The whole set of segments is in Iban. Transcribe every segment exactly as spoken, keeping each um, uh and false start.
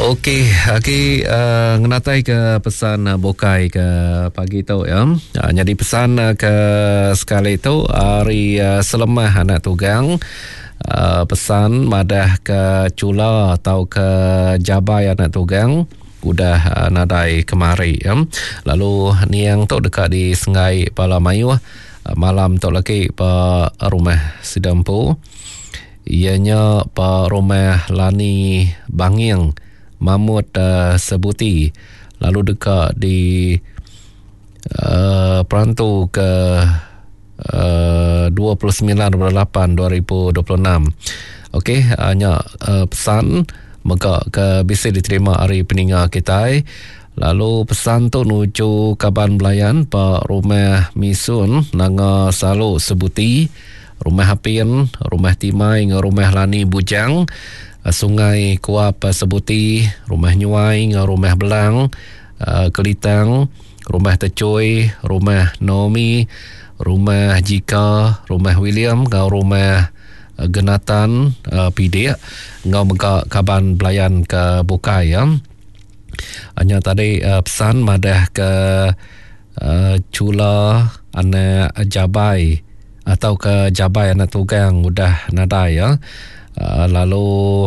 Okey, agi uh, ngenatai ke pesan uh, bukai ke pagi tu ya. Uh, jadi pesan uh, ke sekali tu hari uh, Selemah anak tugang. Uh, pesan madah ke Chula atau ke Jabai anak tugang udah uh, nadai kemari ya. Lalu niang tu dekat di Sengai Pala Mayuh uh, malam tu lagi pa rumah Sidampu. Ianya pa rumah Lani Banging Mamut uh, Sebuti, lalu dekat di uh, perantu ke uh, dua puluh sembilan bulan lapan dua ribu dua puluh enam. Okey, hanya uh, pesan mega ke bisa diterima hari peninga kita. Lalu pesan tu nuju kaban belayan pak rumah Misun Nanga Salu Sebuti, rumah Apin, rumah Timai ngau rumah Lani Bujang, Sungai Kuap Sebuti, rumah Nyuai ngau rumah Belang, Kelitang, rumah Tecui, rumah Naomi, rumah Jika, rumah William ngau rumah Genatan Pidik ngau mega kaban belayan ke bukai ya. Hanya tadi pesan madah ke Chula anak Jabai atau ke Jabai anak tugang udah nadai ya. Uh, lalu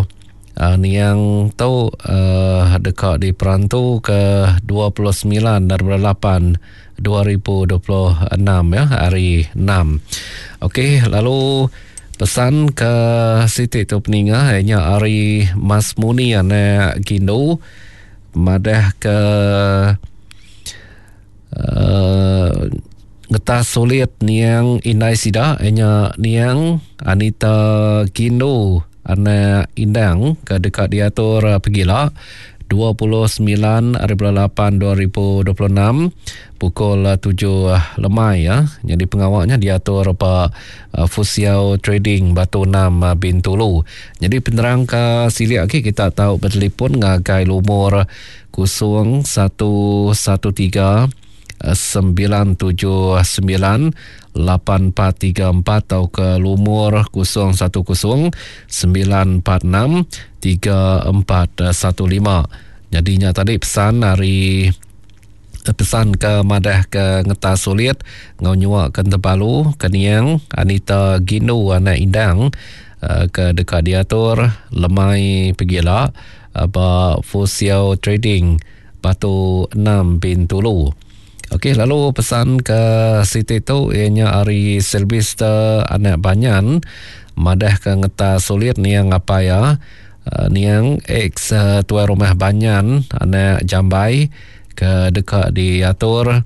uh, niang tu uh, dekat di perantu ke dua puluh sembilan bulan lapan dua ribu dua puluh enam ya, hari enam. Okey, lalu pesan ke Siti tu peninga ianya hari Mas Muni anak Gindu madah ke uh, ngetas sulit niang indai sida ianya niang Anita Gindu anak Indang ke dekat diatur pegila dua puluh sembilan hari bulan lapan dua ribu dua puluh enam pukul tujuh lemai ya. Jadi pengawalnya diatur Pak Fusiau Trading Batu enam Bintulu. Jadi penerang ke silik lagi kita tahu bertelefon ngagai lumur kosong satu satu tiga sembilan tujuh sembilan lapan empat tiga empat atau ke lumur kosong satu kosong sembilan empat enam tiga empat satu lima. Jadinya tadi pesan hari pesan ke madah ke ngetas sulit ngau nyuak ke Tebalu ke niang Anita Gindu anak Indang ke dekat diatur lemai pegila ba Fusiau Trading Batu enam Bintulu. Okey, lalu pesan ke Siti tu ianya hari Sylvester anak Banyan madah ke ngetas sulit niang apa ya niang ex tuai rumah Banyan anak Jambai ke dekat diatur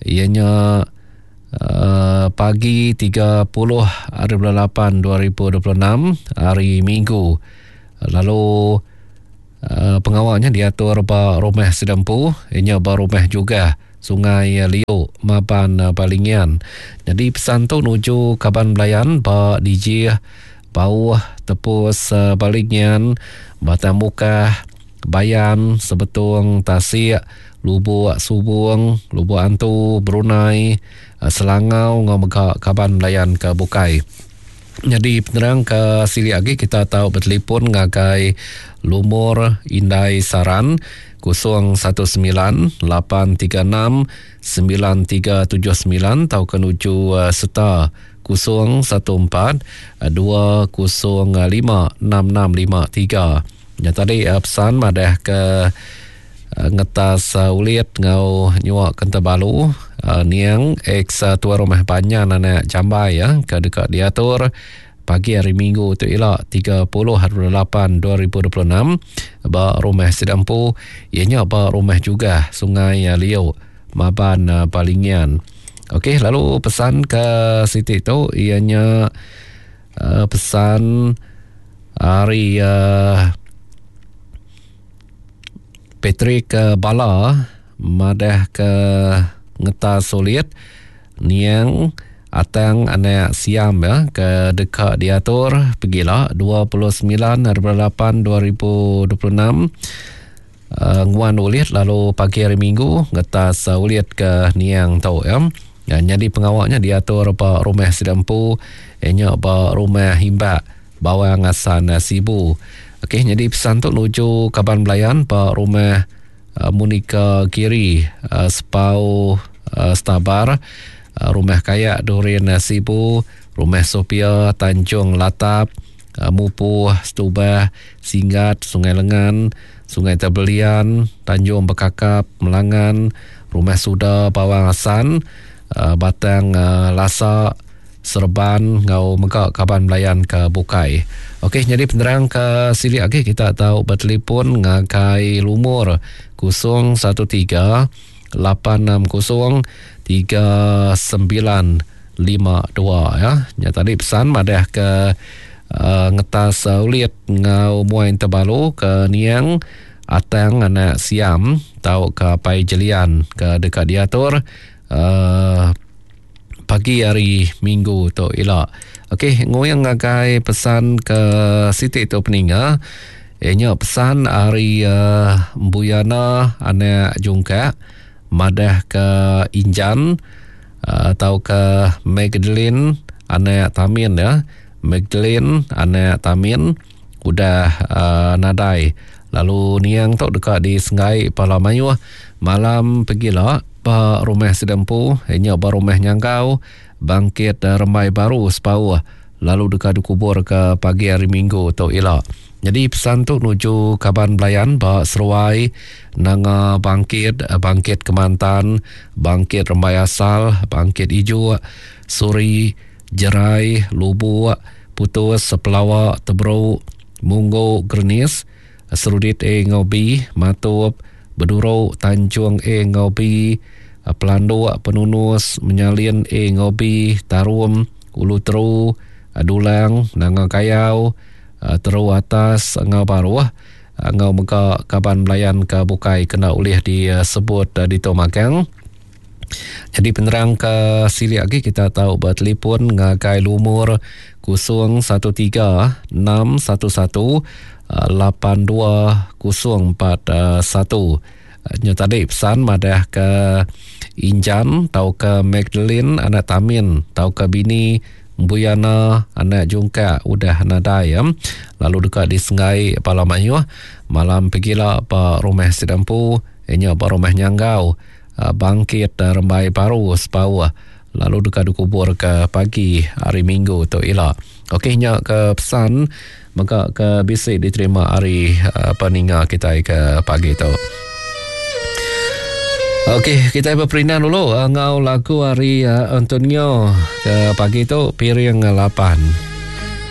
ianya uh, pagi tiga puluh hari bulan lapan dua ribu dua puluh enam hari Minggu. Lalu uh, pengawalnya diatur ba rumah Sedempu ianya ba rumah juga Sungai Liu Maban Balingian. Jadi pesan tu nuju kaban belayan ba D J Bauh Tepus Balingian, Batang Mukah, Bayan, Sebetung, Tasik, Lubuk Subung, Lubuk Antu, Brunei, Selangau ngau mega kaban belayan ke bukai. Jadi penerang ke silik lagi kita tahu bertelefon ngagai lumur Indai Saran kosong satu sembilan lapan tiga enam sembilan tiga tujuh sembilan atau ke nuju uh, serta kosong satu empat dua kosong lima enam enam lima tiga. Ya tadi uh, pesan madah ke uh, ngetas uh, ulit ngau nyuak kentebalu uh, niang ex uh, tuan rumah Banyan anak Jambai ya ke dekat diatur pagi hari Minggu tu elak tiga puluh hari lapan dua ribu dua puluh enam ba rumah Sedampu ianya ba rumah juga Sungai Liu Maban Balingian. Okey, lalu pesan ke Siti tu ianya uh, pesan hari uh, Patrick Bala madah ke ngetas sulit niang Atang anak Siam ya ke dekat diatur pegila dua puluh sembilan hari bulan lapan dua ribu dua puluh enam uh, nguan ulit lalu pagi hari Minggu ngetas uh, ulit ke niang tu ya. Ya, jadi pengawalnya diatur ba rumah Sidampu ianya ba rumah Himbak Bawang Asan Sibu. Okey, nyadi pesan tu nuju kaban belayan ba rumah uh, Monica Giri, uh, Sepau uh, Stabar, uh, rumah Kayak Durin uh, Sibu, rumah Sophia Tanjung Latap, uh, Mupuh Stubah, Singgat, Sungai Lengan, Sungai Tebelian, Tanjung Bekakap, Melangan, Rumah Suda Bawang Asan, uh, Batang uh, Lasa, Serban ngau mega kaban belayan ke bukai. Okey, jadi penerang ke silik lagi kita tahu bertelefon ngagai lumur kosong satu tiga lapan enam kosong tiga sembilan lima dua ya. Nya tadi pesan madah ke uh, ngetas uh, ulit ngau muai terbalu ke Niang Atang anak Siam tau ke Pai Jelian ke dekat diatur uh, pagi hari Minggu tu ila. Okey, ngoyang ngagai pesan ke Siti tu peninga. Ianya pesan hari uh, Buyana anak Jungkak madah ke Injan uh, atau ke Magdalene anak Tamin ya. Magdalene anak Tamin udah uh, nadai. Lalu niang tu dekat di Sengai Pala Mayuh malam pegila ba rumah sedempu ianya ba rumah Nyanggau Bangkit Rembai Baru Sepauh lalu dekat dikubur ke pagi hari Minggu tu ila. Jadi pesan tu nuju kaban belayan ba Seruai Nanga Bangkit, Bangkit Kemantan, Bangkit Rembai Asal, Bangkit Ijuk, Suri, Jerai, Lubuk, Putus, Sepelawa, Teberuk, Munggu, Gernis, Serudit A ngau B, Matup, Beduruk, Tanjung A ngau B, Pelanduk, Penunus, Menyalin A ngau B, Tarum, Ulu Teru, Dulang, Nanga Kayau, Teru Atas, Ngau Baruh, Ngau mega kaban belayan ke bukai kena ulih disebut di Tomagang. Jadi penerang ke silik lagi kita tahu bertelefon ngagai lumur kosong satu tiga enam satu satu lapan dua kosong empat satu. Nya tadi pesan madah ke Injan tau ke Magdalene anak Tamin tau ke bini Buyana anak Jungkak udah nadai ya. Lalu dekat di Sengai Pala Mayuh malam pegila ba rumah Sedampu inya ba rumah Nyanggau Bangkit Rembai Baru Sepauh lalu dekat dikubur ke pagi hari Minggu tu ila. Okey, nya ke pesan maka ke bisi diterima hari uh, peninga kita ke pagi tu. Okey, kita berperindah dulu uh, ngau lagu hari uh, Antonio ke pagi tu piring lapan.